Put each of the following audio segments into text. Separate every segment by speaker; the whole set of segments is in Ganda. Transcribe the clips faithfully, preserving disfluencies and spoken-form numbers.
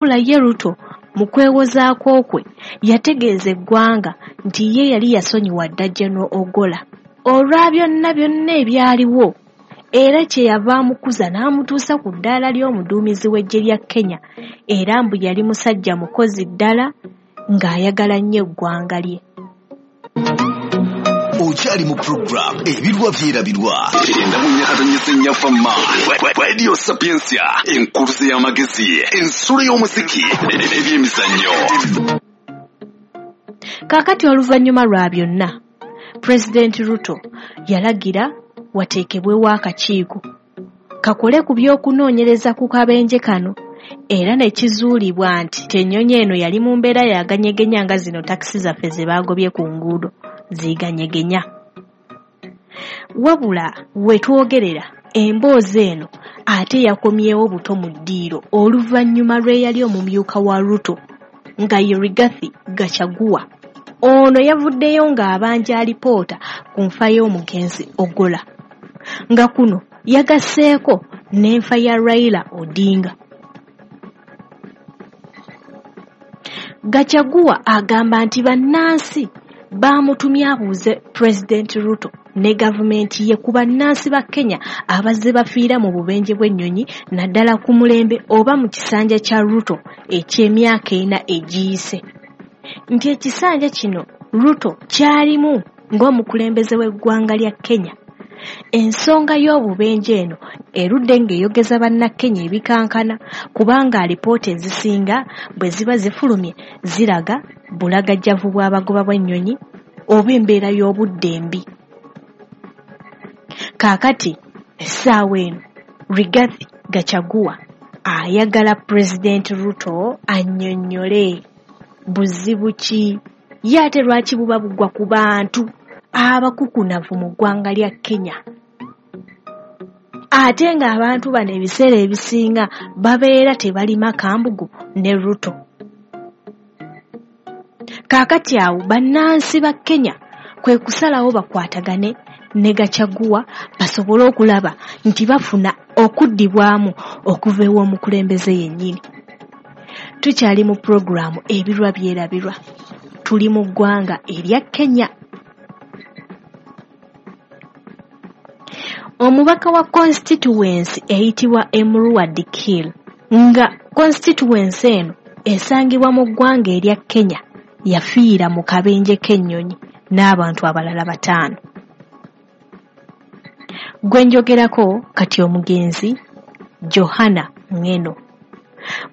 Speaker 1: Wabula ye Ruto mu kwewozaako kwe yategeeza eggwanga nti ye yali yasonyiwa dda General Ogolla olwa byonna byonna ebyaliwo, era kye yava amukuza n'amutuusa ku ddaala ly'omuduumizi w'eggye lya Kenya, era mbu yali musajja mukozi ddala ng'ayagala nnyo eggwanga lye.
Speaker 2: Okyali mu program Ebirwa Byerabirwa Radio Sapientia, enkuluze y'amagezi, ensulo y'omuziki n'ebyemizannyo.
Speaker 1: Kaakati oluvannyuma lwa byonna, Pulezidenti Ruto yalagira wateekebwewo akakiiko kakole ku by'okunoonyereza ku kabenje kano, era ne kizuulibwa nti ennyonyi eno yali mu mbeera yaganyegenya nga zino takisi zaffe ze baagobye ku nguudo ziganyegenya. Wabula we twogerera emboozi eno ate yakomyewo buto mu ddiiro oluvannyuma lw'eyali omumyuka wa Ruto nga ye Rigathi Gachagua. Ono yavuddeyo ng'abanja alipoota ku nfa y'omugenzi Ogolla, nga kuno yagasseeko n'enfa ya Raila Odinga. Gachagua agamba nti bannansi baamutumye abuuze Pulezidenti Ruto ne gavumenti ye ku bannansi ba Kenya abazze bafiira mu bubenje bw'ennyonyi naddala ku mulembe oba mu kisanja kya Ruto eky'emyaka ena egiyise. Nti ekisanja kino Ruto kyalimu ng'omukulembeze w'eggwanga lya Kenya. Ensonga y'obubenje eno erudde ng'eyogeza bannakenya ebikankana, kubanga alipoota ezisinga bwe ziba zifulumye ziraga bulagajjavu bw'abagoba bw'ennyonyi oba embeera y'obudde embi. Kaakati essaawa eno Rigathi Gachagua ayagala Pulezidenti Ruto annyonnyole buzibu ki ye ate lwaki buba bugwa ku bantu abakukunavu mu ggwanga lya Kenya, ate ng'abantu bano ebiseera ebisinga babeera tebalima kambugu ne Ruto. Kaakati awo bannansi ba Kenya kwe kusalawo bakwatagane ne Gachagua basobole okulaba nti bafuna okuddibwamu okuva ew'omukulembeze yennyini. Tukyali mu pulogulaamu Ebirwa Byerabirwa, tuli mu ggwanga erya Kenya. Omubaka wa constituency eyitibwa Emurua Dikirr, nga constituency eno esangibwa mu ggwanga erya Kenya, yafiira mu kabenje k'ennyonyi n'abantu abalala bataano. Gwe njogerako kati omugenzi Johana Ng'eno.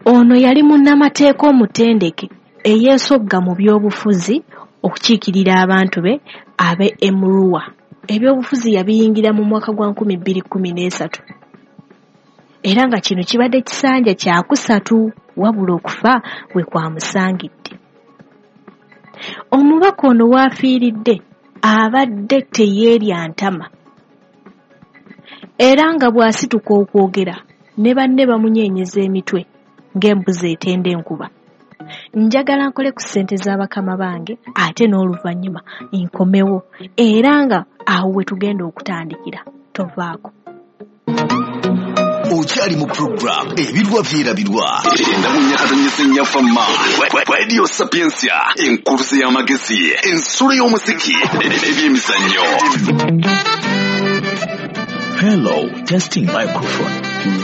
Speaker 1: Ono yali munnamateeka omutendeke eyeesogga mu by'obufuzi okukiikirira abantu be ab'e Emurua. Ebyobufuzi yabiyingira mu mwaka gwa nkumi bbiri kkumi n'esatu, era nga kino kibadde kisanja kyakusatu, wabula okufa we kwamusangidde. Omubaka ono w'afiiridde abadde teyeerya ntama, era nga bw'asituka okwogera ne banne bamunyeenyeza emitwe ng'embuzi etenda enkuba. Njagala nkole ku ssente z'abakama bange ate n'oluvannyuma nkomewo, era nga awo we tugenda okutandikira. Tovaako.
Speaker 2: Okyali mu program Ebirwa Byerabirwa Radio Sapientia, enkuluze y'amagezi, ensulo y'omuziki n'ebyemizannyo.
Speaker 3: Hello, testing microphone.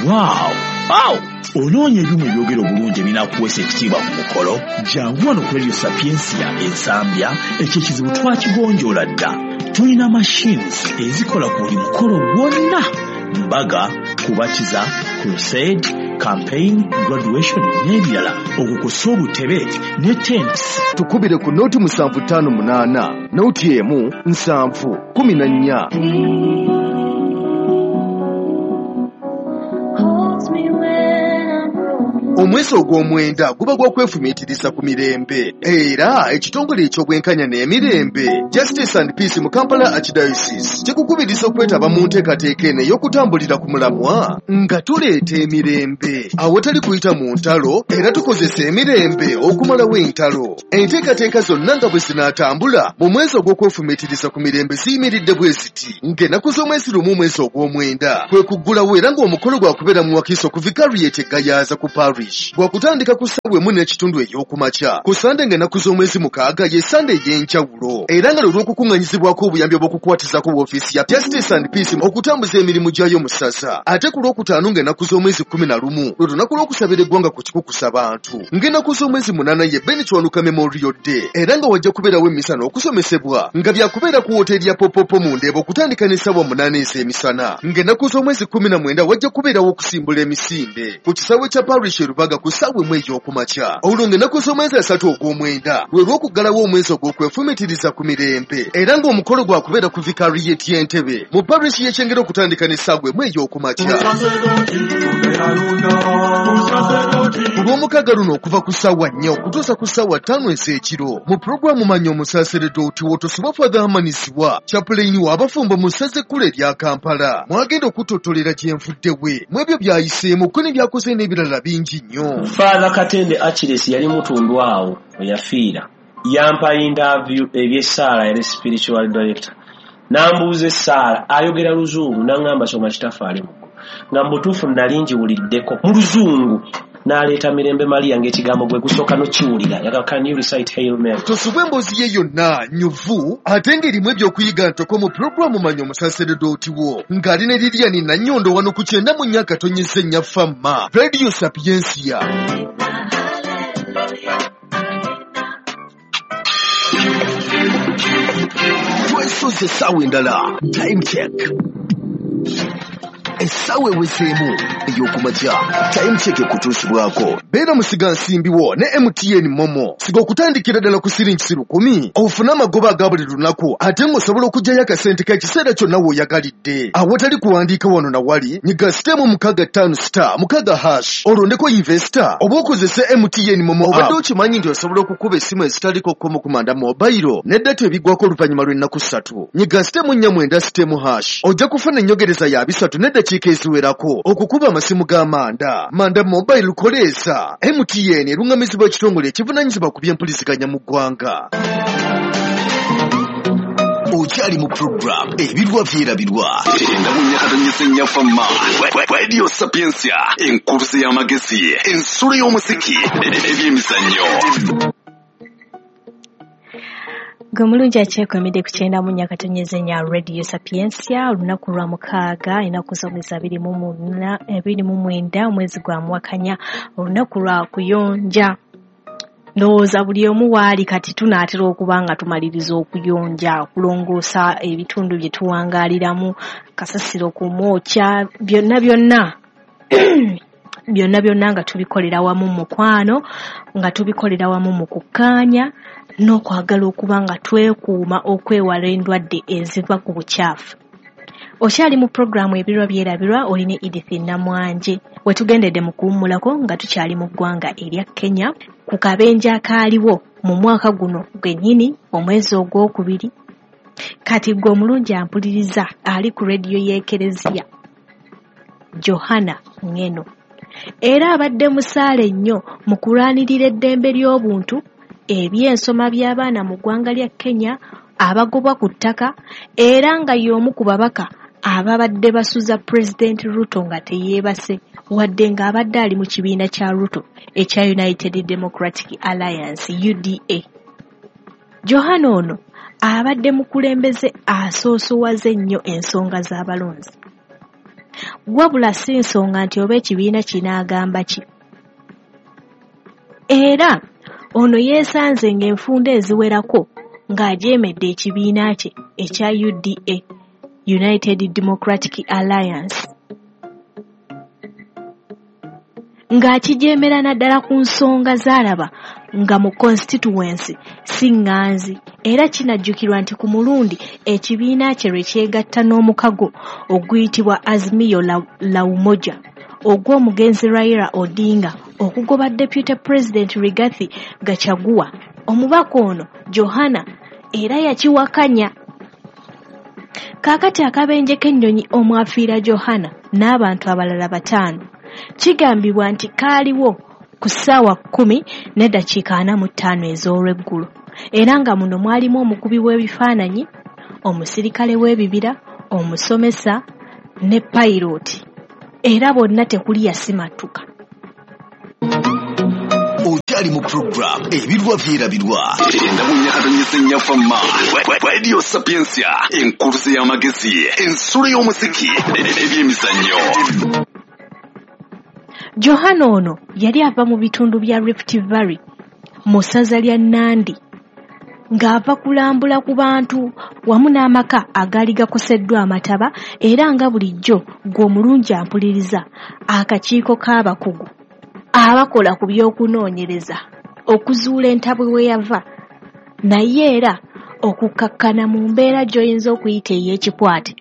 Speaker 3: Wow! Wow! Onoonya ebyuma ebyogera obulungi ebinaakuweesa ekitiibwa ku mukolo? Jangu wano ku Radio Sapientia Ensambya, ekyo ekizibu twakigonjoola dda. Tulina machines ezikola ku buli mukolo gwonna: mbaga, kubatiza, crusade, campaign, graduation n'ebirala, okukosa obutebe ne tents.
Speaker 4: Tukubire ku noti musanvu ttaano munaana, noti emu nsanvu kumi na nnya. Omwezi ogw'omwenda guba gwa kwefumiitiriza ku mirembe, era ekitongole eky'obwenkanya n'emirembe Justice and Peace mu Kampala Archdiocese kikukubiriza okwetaba mu nteekateeka eno ey'okutambulira ku mulamwa nga tuleeta emirembe awatali kuyita mu ntalo, era tukozesa emirembe okumalawo entalo. Enteekateeka zonna nga bwe zinaatambula mu mwezi ogw'okwefumiitiriza ku mirembe ziyimiridde bwe ziti: ng'ennaku z'omwezi lumu omwezi ogw'omwenda kwe kuggulawo, era ng'omukolo gwakubeera mu Wakiso ku Vicariate e Gayaza ku Paris. Parish bwakutandika ku ssaawa emu n'ekitundu ey'okumakya. Ku Sande ng'ennaku z'omwezi mukaaga ye Sande ey'enjawulo era nga lwe lw'okukuŋŋanyizibwako obuyambi obw'okukwatizako woofiisi ya Justice and Peace okutambuza emirimu gyayo mu ssaza. Ate ku lwokutaano ng'ennaku z'omwezi kkumi na lumu lwe lunaku lw'okusabira eggwanga ku kikukusa bantu. Ng'ennaku z'omwezi munaana ye Ben Kiwanuka Memorial Day era nga wajja kubeerawo emmisa n'okusomesebwa nga byakubeera ku wooteeri ya Popopo mu Ndeeba okutandika n'essaawa munaana ez'emisana. Ng'ennaku z'omwezi kkumi na mwenda wajja kubeerawo okusimbula emisinde ku kisaawe kya Parish e Rubaga ku ssaawa emu ey'okumakya. Olwo ng'ennaku z'omwezi asatu ogw'omwenda lwe lw'okuggalawo omwezi ogw'okwefumiitiriza ku mirembe era ng'omukolo gwakubeera ku Vicariate y'Entebe mu Parish y'e Kyengera okutandika n'essaawa emu ey'okumakya. Ku lw'omukaaga luno okuva ku ssaawa nnya okutuusa ku ssaawa ttaano ez'ekiro mu pulogulaamu Manya Omusaseredooti w'otosubwa Father Hamanisiwa chaplain w'abafumbo mu ssaza ekkulu erya Kampala mwagenda okutottolera gye nvudde we mu ebyo by'ayiseemu ko ne by'akoze n'ebirala bingi nnyo.
Speaker 5: Father Katende Achilles yali mutundu awo we yafiira, yampa interview eby'essaala, yali spiritual director, n'ambuuza essaala, ayogera Luzungu, n'aŋŋamba soma Kitaffe ali mu ggulu, nga mu butuufu nali ngiwuliddeko mu Luzungu. N'aleeta Mirembe Maria ng'ekigambo gwe gusooka n'okiwulira. Yagamba, "Can you recite Hail Mary?"
Speaker 4: Tosubwa emboozi ye yonna nnyuvu ate ng'erimu ebyokuyiga ntoko mu pulogulaamu Manya Omusaseredooti wo ng'ali ne Lilian Nannyondo wano ku kyenda mu nnya akatonyeza ennya Famma Radio Sapientia.
Speaker 2: Twesoze essaawa endala. Time check. Essaawa ewezeemu ey'okumakya. Time check ekutuusibwako.
Speaker 4: Beera musigansimbi wo ne M T N Momo. Siga okutandikira ddala ku siringi lukumi ofune amagoba aga buli lunaku ate ng'osobola okuggyayo akasente k'ekiseera kyonna w'oyagalidde. Awatali kuwandiika wano na wali, nyiga sitemu mukaaga ttaano star mukaaga hash olondeko investor oba okozese M T N Momo. Obadde okimanyi nti osobola okukuba essimu ezitaliko kkomo ku manda mobile ne data ebiggwako oluvannyuma lw'ennaku ssatu. Nyiga sitemu nnya mwenda sitemu hash ojja kufuna ennyogereza ya bisatu n'eddakiika eziwerako okukuba amasimu ga Manda. Manda Mobile koleesa M T N erungamizibwa ekitongole ekivunaanyizibwa ku by'empuliziganya mu ggwanga.
Speaker 2: Okyali mu program Ebirwa Byerabirwa. Kyenda mu nnya katonyeza ennya Famma Radio Sapientia, enkuluze y'amagezi, ensulo y'omuziki, ebyemizannyo.
Speaker 1: Gwe mulungi akyekwemidde ku kyenda mu nnya katonyeza ennya Radio Sapientia, olunaku lwa mukaaga ennaku z'omwezi abiri mu muna abiri mu mwenda omwezi gwa Muwakanya, olunaku lwa kuyonja. Ndowooza buli omu waali kati tunaatera okuba nga tumaliriza okuyonja, okulongoosa ebitundu bye tuwangaaliramu, kasasiro kumwokya, byonna byonna byonna byonna nga tubikolera wamu mu mukwano, nga tubikolera wamu mu kukkaanya n'okwagala okuba nga twekuuma okwewala endwadde eziva ku bukyafu. Okyali mu pulogulaamu Ebirwa Byerabirwa, oli ne Edith Namwanje. We tugendedde mu kuwummulako nga tukyali mu ggwanga erya Kenya ku kabenje akaaliwo mu mwaka guno gwennyini omwezi ogwokubiri. Kati gwe omulungi ampuliriza ali ku rediyo y'Ekereziya Johana Ngeno, era abadde musaale nnyo mu kulwanirira eddembe ly'obuntu, ebyensoma by'abaana mu ggwanga lya Kenya abagobwa ku ttaka, era nga y'omu ku babaka ababadde basuza Pulezidenti Ruto nga teyeebase wadde ng'abadde ali mu kibiina kya Ruto ekya United Democratic Alliance U D A. Johana ono abadde mukulembeze asoosowaze ennyo ensonga z'abalonzi. Wabula si nsonga nti oba ekibiina kinaagamba ki. Era ono yeesanze ng'enfunda eziwerako ng'ajeemedde ekibiina kye ekya U D A, United Democratic Alliance, ng'akijeemera naddala ku nsonga z'alaba nga mu constituency si ŋŋanzi. Era kinajjukirwa nti ku mulundi ekibiina kye lwe kyegatta n'omukago oguyitibwa Azimio la, la Umoja ogw'omugenzi Raila Odinga okugoba Deputy President Rigathi Gachagua. Omubaka ono Johana era yakiwakanya. Kaakati akabenje k'ennyonyi omwafiira Johana n'abantu abalala bataano kigambibwa nti kaaliwo ku ssaawa kkumi n'eddakiika ana mu ttaano ez'olweggulo, era nga muno mwalimu omukubi w'ebifaananyi, omusirikale w'ebibira, omusomesa ne payirooti, era bonna tekuli yasimattuka.
Speaker 2: Okyali mu program Ebirwa Byerabirwa. Endabunnyakatonyesa ennyafamma. Radio Sapientia, enkuluze y'amagezi, ensulo y'omuziki, ebyemizannyo.
Speaker 1: Johana ono yali ava mu bitundu bya Rift Valley mu ssaza lya Nandi, ng'ava kulambula ku bantu wamu n'amaka agaali gakoseddwa amataba, era nga bulijjo gw'omulungi ampuliriza akakiiko k'abakugu abakola ku by'okunoonyereza okuzuula entabwe we yava, naye era okukkakkana mu mbeera gy'oyinza okuyita ey'ekikwate,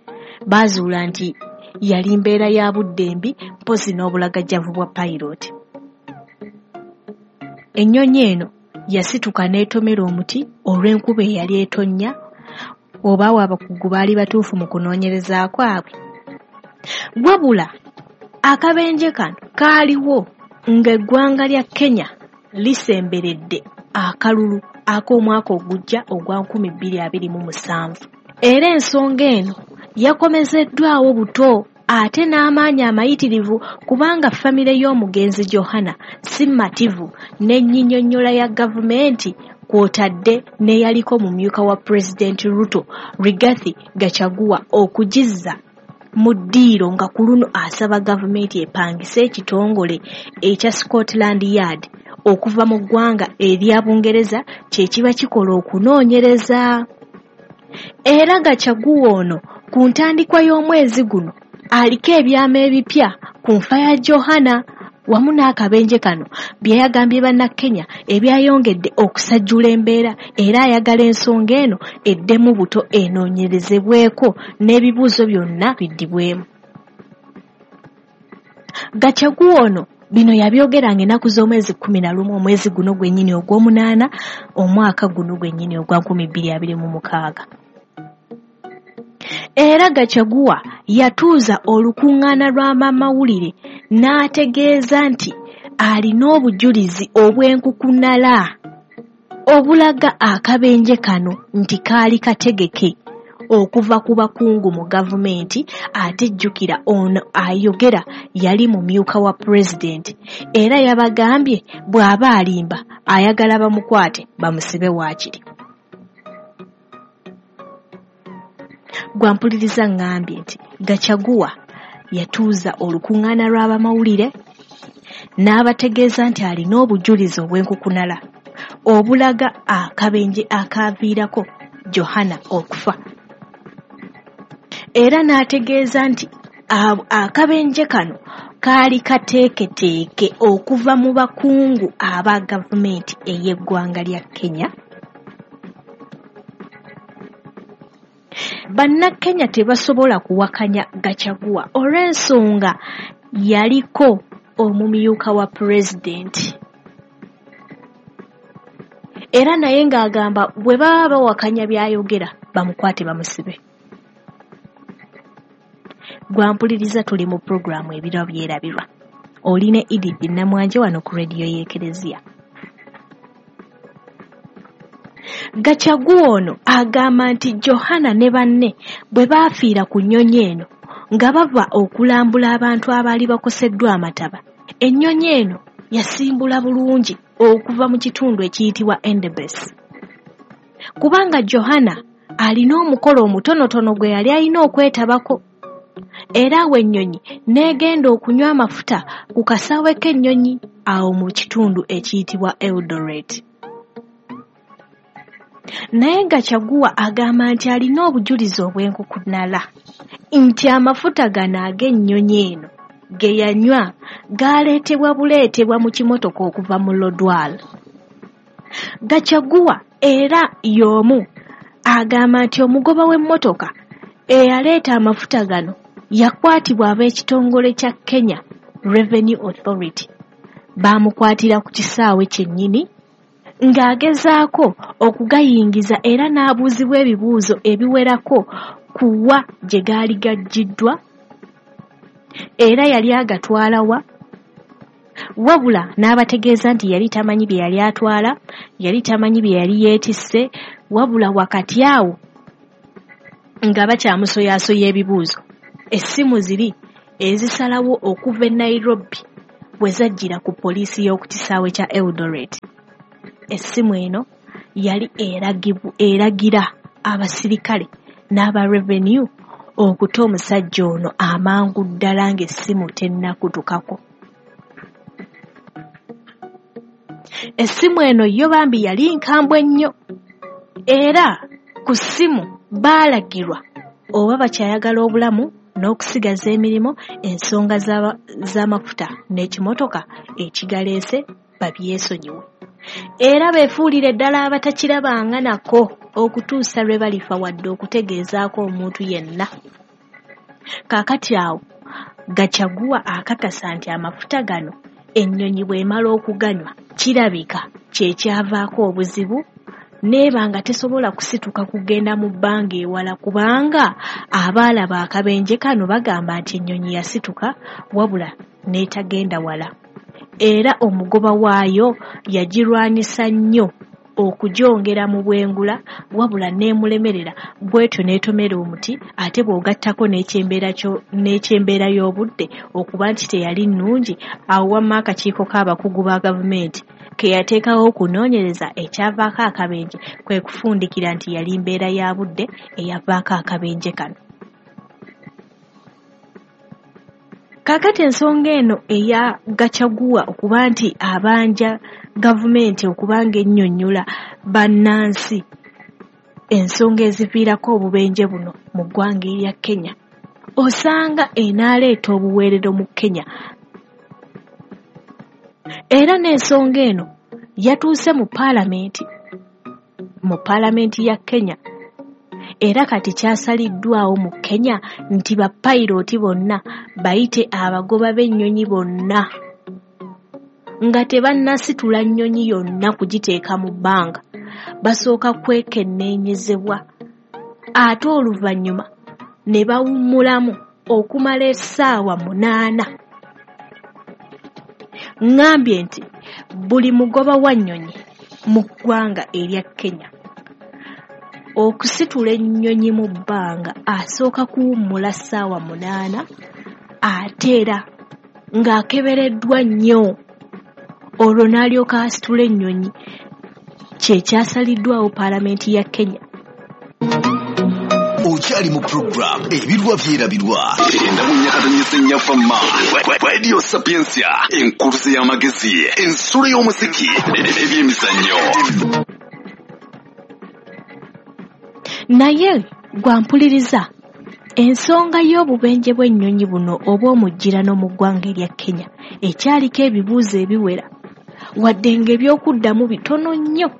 Speaker 1: baazuula nti yali mbeera ya budde mbi mpozzi n'obulagajjavu bwa payiroti. Ennyonyi eno yasituka n'etomera omuti olw'enkuba eyali etonnya, oba awo abakugu baali batuufu mu kunoonyereza kwabwe. Wabula akabenje kano kaaliwo ng'eggwanga lya Kenya lisemberedde akalulu ak'omwaka ogujja ogwa nkumi bbiri abiri mu musanvu. Era ensonga eno yakomezeddwawo buto ate n'amaanyi amayitirivu, kubanga famire y'omugenzi Johana si mativu n'ennyinyonnyola ya gavumenti kw'otadde n'eyaliko mumyuka wa Pulezidenti Ruto Rigathi Gachagua okugizza mu ddiiro, nga ku luno asaba gavumenti epangise ekitongole ekya Scotland Yard okuva mu ggwanga erya Bungereza kye kiba kikola okunoonyereza. Era Gachagua ono ku ntandikwa y'omwezi guno aliko ebyama ebipya ku nfa ya Johana wamu n'akabenje kano bye yagambye bannakenya ebyayongedde okusajjula embeera, era ayagala ensonga eno eddemu buto enoonyerezebweko n'ebibuuzo byonna biddibwemu. Gachagua ono bino yabyogeranga ennaku z'omwezi kkumi na lumu omwezi guno gwennyini ogw'omunaana omwaka guno gwennyini ogwa nkumi bbiri abiri mu mukaaga. Era Gachagua yatuuza olukuŋŋaana lw'amamawulire n'ategeeza nti alina obujulizi obw'enkukunala obulaga akabenje kano nti kaali kategeke okuva ku bakungu mu gavumenti, ate jjukira ono ayogera yali mumyuka wa pulezidenti, era yabagambye bw'aba alimba ayagala bamukwate bamusibe waakiri. Gwampuliriza ngambye nti Gachagua yatuuza olukuŋŋaana lw'abamawulire n'abategeeza nti alina obujulizi obw'enkukunala obulaga akabenje akaaviirako Johana okufa, era n'ategeeza nti akabenje kano kaali kateeketeeke okuva mu bakungu aba gavumenti ey'eggwanga lya Kenya. Bannakenya tebasobola kuwakanya Gachagua olw'ensonga yaliko omumyuka wa pulezidenti, era naye ng'agamba bwe baba bawakanya by'ayogera bamukwate bamusibe. Gwampuliriza tuli mu pulogulaamu Ebirwa Byerabirwa, oli ne Edith Namwanje wano ku rediyo y'Ekereziya. Gachagua ono agamba nti Johana ne banne bwe baafiira ku nnyonyi eno nga bava okulambula abantu abaali bakoseddwa amataba, ennyonyi eno yasimbula bulungi okuva mu kitundu ekiyitibwa Endebess, kubanga Johana alina omukolo omutonotono gwe yali alina okwetabako, era awo ennyonyi n'egenda okunywa amafuta ku kasaawe k'ennyonyi awo mu kitundu ekiyitibwa Eldoret. Naye Gachagua agamba nti alina obujulizi obw'enkukunala nti amafuta gano ag'ennyonyi eno ge yanywa gaaleetebwa buleetebwa mu kimotoka okuva mu Lodwar. Gachagua era y'omu agamba nti omugoba w'emmotoka eyaleeta amafuta gano yakwatibwa ab'ekitongole kya Kenya Revenue Authority, baamukwatira ku kisaawe kyennyini ng'agezaako okugayingiza era n'abuuzibwa ebibuuzo ebiwerako ku wa gye gaali gaggiddwa, era yali agatwala wa, wabula n'abategeeza nti yali tamanyi bye yali atwala, yali tamanyi bye yali yeetisse, wabula wakati awo nga bakyamusoyaasoya ebibuuzo, essimu ziri ezisalawo okuva e Nairobi we zajjira ku poliisi y'oku kisaawe kya Eldoret. Essimu eno yali eragira abasirikale n'aba revenue okuta omusajja ono amangu ddala ng'essimu tennakutukako. Essimu eno yo bambi yali nkambwe nnyo, era ku ssimu baalagirwa oba bakyayagala obulamu n'okusigaza emirimu, ensonga z'amafuta n'ekimotoka ekigaleese babyesonyiwe. Era beefuulire ddala abatakirabanga nako okutuusa lwe balifa wadde okutegeezaako omuntu yenna. Kaakati awo Gachagua akakasa nti amafuta gano ennyonyi bw'emala okuganywa kirabika kye kyavaako obuzibu, n'eba nga tesobola kusituka kugenda mu bbanga ewala, kubanga abaalaba akabenje kano bagamba nti ennyonyi yasituka wabula n'etagenda wala. Era omugoba waayo yagirwanyisa nnyo okugyongera mu bwengula, wabula n'emulemerera bw'etyo n'etomera omuti, ate bw'ogattako n'ekyembeera y'obudde okuba nti teyali nnungi. Awo wamma akakiiko k'abakugu ba gavumenti ke yateekawo okunoonyereza ekyavaako akabenje kwe kufundikira nti yali mbeera ya budde eyavaako akabenje kano. Kaakati ensonga eno eya Gachagua okuba nti abanja gavumenti okuba ng'ennyonnyola bannansi ensonga eziviirako obubenje buno mu ggwanga erya Kenya, osanga enaaleeta obuweerero mu Kenya. Era n'ensonga eno yatuuse mu paalamenti, mu paalamenti ya Kenya. Era kati kyasaliddwawo mu Kenya nti bapayirooti bonna bayite abagoba b'ennyonyi bonna nga tebannasitula nnyonyi yonna kugiteeka mu bbanga, basooka kwekenneenyezebwa ate oluvannyuma ne bawummulamu okumala essaawa munaana. Ŋŋambye nti buli mugoba wa nnyonyi mu ggwanga erya Kenya okusitula ennyonyi mu bbanga asooka kuwummula ssaawa munaana, ate era ng'akebereddwa nnyo, olwo n'alyoka asitula ennyonyi. Kye kyasaliddwawo paalamenti ya Kenya.
Speaker 2: Okyali mu program Ebirwa Byerabirwa endamunyakatonyesa ennyafamma Radio Sapientia, enkuluze y'amagezi, ensulo y'omuziki n'ebyemizannyo.
Speaker 1: Naye gwampuliriza, ensonga y'obubenje bw'ennyonyi buno obw'omujjirano mu ggwanga erya Kenya ekyaliko ebibuuzo ebiwera, wadde ng'ebyokuddamu bitono nnyo,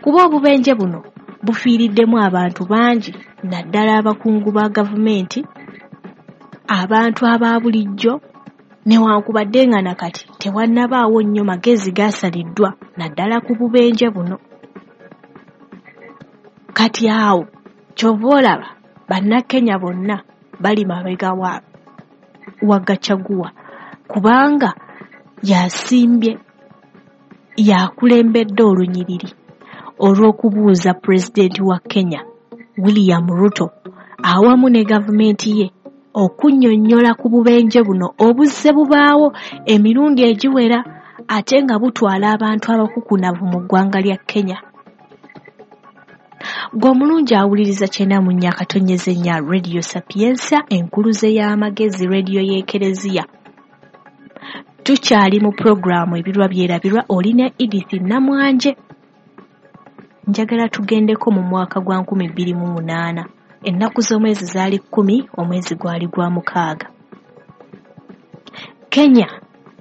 Speaker 1: kuba obubenje buno bufiiriddemu abantu bangi, naddala abakungu ba gavumenti, abantu aba bulijjo, newankubadde nga nakati tewannabaawo nnyo magezi gaasaliddwa naddala ku bubenje buno. Kati awo ky'ova olaba bannakenya bonna bali mabega wa, wa Gachagua, kubanga yasimbye yakulembedde olunyiriri olw'okubuuza pulezidenti wa Kenya William Ruto awamu ne gavumenti ye okunnyonnyola ku bubenje buno obuzze bubaawo emirundi egiwera ate nga butwala abantu abakukunavu mu ggwanga lya Kenya. Gwe omulungi awuliriza kyenda mu nnya akatonyeze nnya Radio Sapientia, enkuluze y'amagezi, radio y'Ekereziya. Tukyali mu pulogulaamu Ebirwa Byerabirwa, olina Edith Namwanje. Njagala tugendeko mu mwaka gwa nkumi bbiri mu munaana. Ennaku z'omwezi zaali kkumi, omwezi gwali gwa mukaaga. Kenya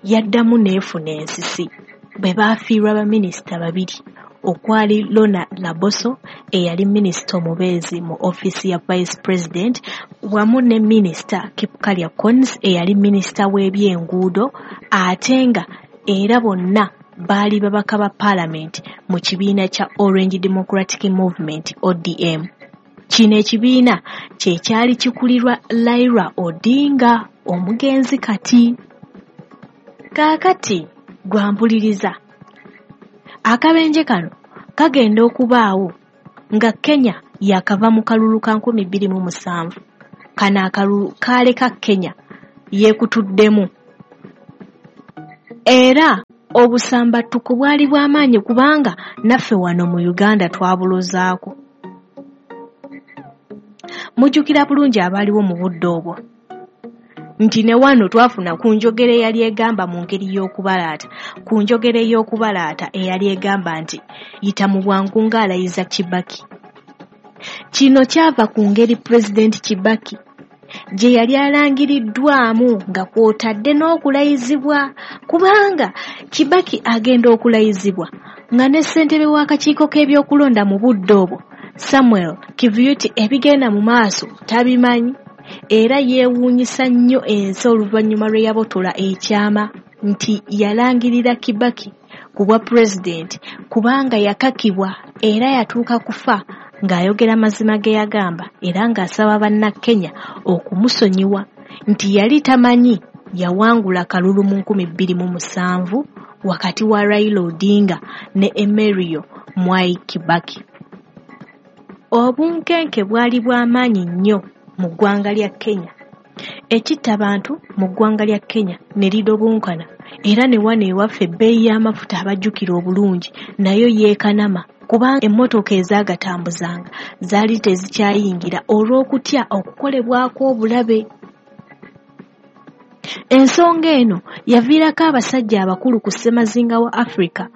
Speaker 1: yaddamu n'efuna ensisi bwe baafiirwa baminisita babiri, okwali Lona Laboso eyali minisita omubeezi mu ofiisi ya Vice President, wamu ne minisita Kipkalya Kones eyali minisita w'ebyenguudo, ate nga era bonna baali babaka ba paalamenti mu kibiina kya Orange Democratic Movement O D M. Kino ekibiina kye kyali kikulirwa Raila Odinga omugenzi kati. Kaakati gwampuliriza, akabenje kano kagenda okubaawo nga Kenya yakava mu kalulu ka nkumi bbiri mu musanvu. Kano akalulu kaaleka Kenya yeekutuddemu. Era obusambattuko bwali bw'amaanyi kubanga naffe wano mu Uganda twabulozaako. Mujjukira bulungi abaaliwo mu budde obwo nti ne wano twafuna ku njogera eyali egamba mu ngeri y'okubalaata, ku njogera ey'okubalaata eyali egamba nti yita mu bwangu ng'alayiza Kibaki. Kino kyava ku ngeri Pulezidenti Kibaki gye yali alangiriddwamu nga kw'otadde n'okulayizibwa, kubanga Kibaki agenda okulayizibwa nga ne ssentebe w'akakiiko k'ebyokulonda mu budde obwo Samuel Kivuti ebigenda mu maaso tabimanyi, era yeewuunyisa nnyo ensi oluvannyuma lwe yabotola ekyama nti yalangirira Kibaki ku bwa pulezidenti kubanga yakakibwa era yatuuka kufa ng'ayogera mazima ge yagamba era ng'asaba bannakenya okumusonyiwa nti yali tamanyi yawangula kalulu mu nkumi bbiri mu musanvu wakati wa Raila Odinga ne Emerio Mwai Kibaki. Obunkenke bwali bw'amaanyi nnyo mu ggwanga lya Kenya. Ekitta bantu mu ggwanga lya Kenya ne lidobonkana era ne wano ewaffe ebbeeyi y'amafuta abajjukira obulungi nayo yeekanama kubanga emmotoka ezaagatambuzanga zaali tezikyayingira olw'okutya okukolebwako obulabe. Ensonga eno yaviirako abasajja abakulu ku ssemazinga wa Africa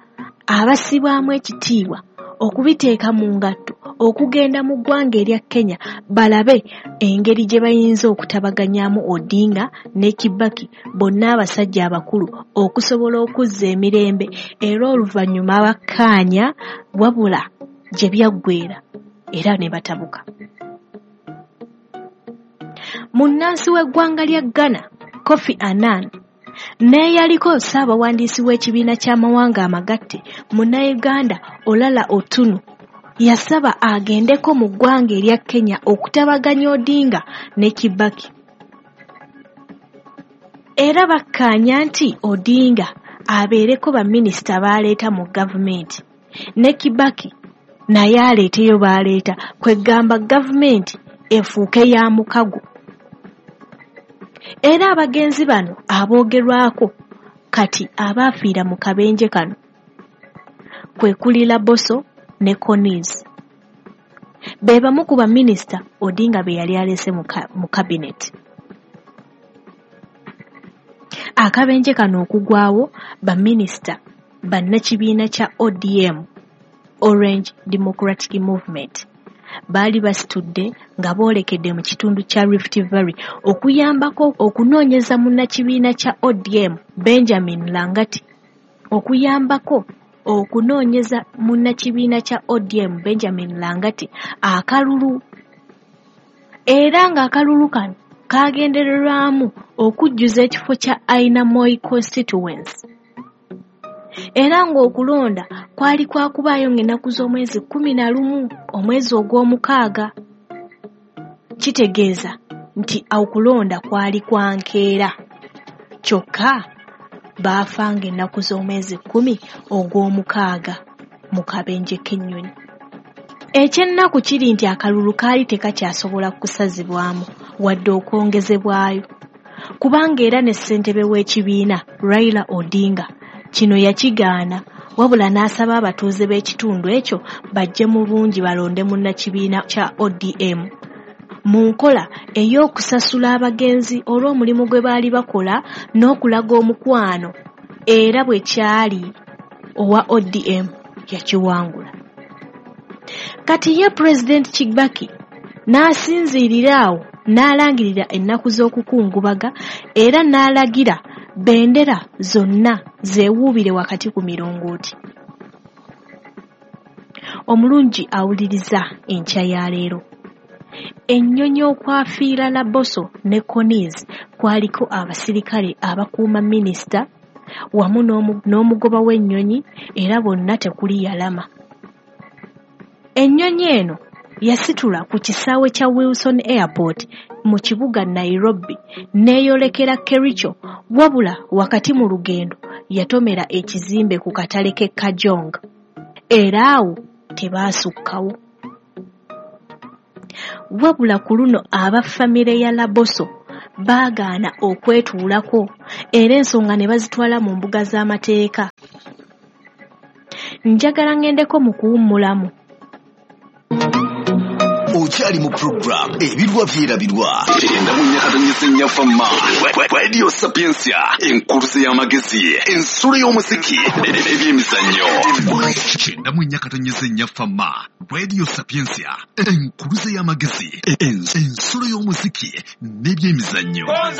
Speaker 1: abassibwamu ekitiibwa okubiteeka mu ngatto okugenda mu ggwanga erya Kenya balabe engeri gye bayinza okutabaganyaamu Odinga ne Kibaki bonna abasajja abakulu okusobola okuzza emirembe, era oluvannyuma bakkaanya wabula gye byaggweera era ne batabuka. Munnansi w'eggwanga lya Ghana Kofi Annan n'eyaliko ssaabawandiisi w'ekibiina ky'amawanga amagatte munnayuganda Olala Otunu yasaba agendeko mu ggwanga erya Kenya okutabaganya Odinga ne Kibaki. Era bakkaanya nti Odinga abeereko baminisita b'aleeta mu gavumenti ne Kibaki naye aleeteyo b'aleeta, kwegamba gavumenti efuuke ya mukago. Era abagenzi bano aboogerwako kati abaafiira mu kabenje kano kwe kuli Laboso ne Konis. Be bamu ku baminisita Odinga be yali alese mu kabineti. Akabenje kano okugwawo baminisita bannakibiina kya O D M, Orange Democratic Movement, baali basitudde nga boolekedde mu kitundu kya Rift Valley okuyambako okunoonyeza munnakibiina kya O D M Benjamin Langati okuyambako okunoonyeza munnakibiina kya O D M Benjamin Langati akalulu, era ng'akalulu kano kagendererwamu okujjuza ekifo kya Ainamoi constituency. Era ng'okulonda kwali kwakubaayo ng'ennaku z'omwezi kkumi na lumu omwezi ogw'omukaaga. Kitegeeza nti okulonda kwali kwa nkeera, kyokka baafa ng'ennaku z'omwezi kkumi ogw'omukaaga mu kabenje k'ennyonyi. Ekyennaku kiri nti akalulu kaali tekakyasobola kusazibwamu wadde okwongezebwayo, kubanga era ne ssentebe w'ekibiina Raila Odinga kino yakigaana, wabula n'asaba abatuuze b'ekitundu ekyo bajje mu bungi balonde munnakibiina kya O D M mu nkola ey'okusasula abagenzi olw'omulimu gwe baali bakola n'okulaga omukwano, era bwe kyali owa O D M yakiwangula. Kati ye Pulezidenti Kibaki n'asinziirira awo n'alangirira ennaku z'okukungubaga era n'alagira bendera zonna zeewuubire wakati ku mirongooti. Omulungi awuliriza enkya ya leero. Ennyonyi okwafiira Laboso ne Konis kwaliko abasirikale abakuuma minisita wamu n'omugoba w'ennyonyi, era bonna tekuli yalama. Ennyonyi eno yasitula ku kisaawe kya Wilson Airport mu kibuga Nairobi n'eyolekera Kericho, wabula wakati mu lugendo yatomera ekizimbe ku katale k'e Kajong, era awo tebaasukkawo. Wabula ku luno aba famire ya Laboso baagaana okwetuulako era ensonga ne bazitwala mu mbuga z'amateeka. Njagala ŋŋendeko mu kuwummulamu.
Speaker 2: Okyali mu program Ebirwa Byerabirwa endamunyakatonyesa ennyafama Radio Sapiensia, enkuluze y'amagezi, ensulo y'omuziki n'ebyemizannyo. Kyenda mu nnyakatonyesa ennyafama Radio Sapiensia, enkuluze y'amagezi, ensulo y'omuziki n'ebyemizannyo.